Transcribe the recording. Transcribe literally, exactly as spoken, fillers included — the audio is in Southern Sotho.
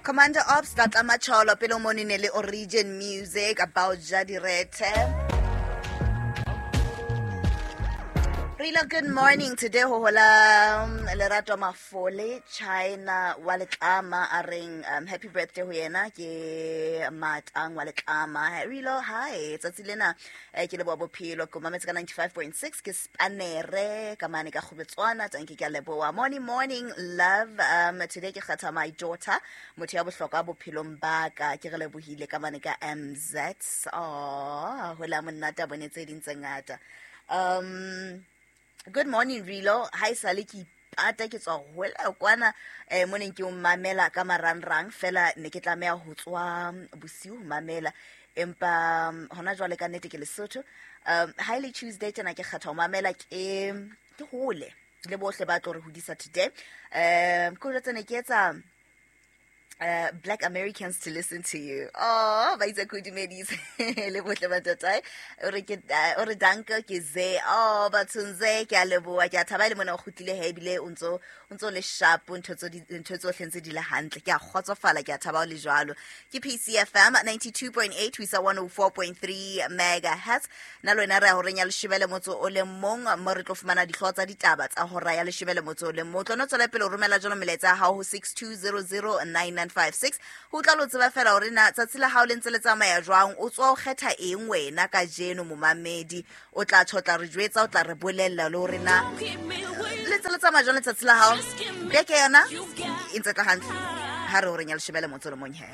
Commander Ops Tlatla Macholo pele o monene le Origin Music about Jadirethe. Rila, good morning. Today ho hola um, Lerato Mafole China wa Letlama a reng um, happy birthday ho yena ke Matang wa Letlama. Rilo, hi. Tsatsi lena eh, ke leboha bophelo ke mametse ka ninety-five point six ke Spanere ka mane ka Kgobetswana tanki ke a leboha. Morning morning love. Um, today ke kgetha my daughter motho ya bohlokwa bophelong ba ka ke re lebohile ka mane ka M Z. Oh, hola monnata bone tse ding tse ngata. Um Good morning Rilo. Hi sale ke ipata ke tswa hola kwana eh mo neng ke o mamela ka marangrang fela ne ke tlameha ho tswa bosiu ho mamela empa hona jwale ka nnete ke Lesotho. Um highly Tuesday tjena ke kgetha ho mamela ke ke hole le bohle ba tlo re hodisa today. Um ko jwetsa ne ke etsa Uh, Black Americans to listen to you. Oh, ba itse kudumedise le bohle ba tatae. O re ke o re danke ke ze. Oh, bathunze ke a leboha ke a thaba le mona o kgutlile he ebile o ntso o ntso le sharp ntho tso ntho tsohle ntse di le hantle. Ke a kgotsofala ke a thaba o le jwalo. Ke P C F M ninety-two point eight ho isa one oh four point three megahertz. Na le wena re ya horeng ya leshome le motso o le mong mo re tlo fumana dihlooho tsa ditaba tsa hora ya leshome le motso o le mong. Tlo no tswela pele o romela jalo melaetsa ya hao ho six two zero zero nine nine five six. Ho tla lo tseba fela hore na tsatsi la hao le ntse le tsamaya jwang, o tswa o kgetha eng wena kajeno momamedi, o tla tjho tla re jwetsa, o tla re bolella le hore na le ntse le tsamaya jwang letsatsi la hao. Beke yona e ntse tla hantle ha re horeng ya leshome le motso o le mong he.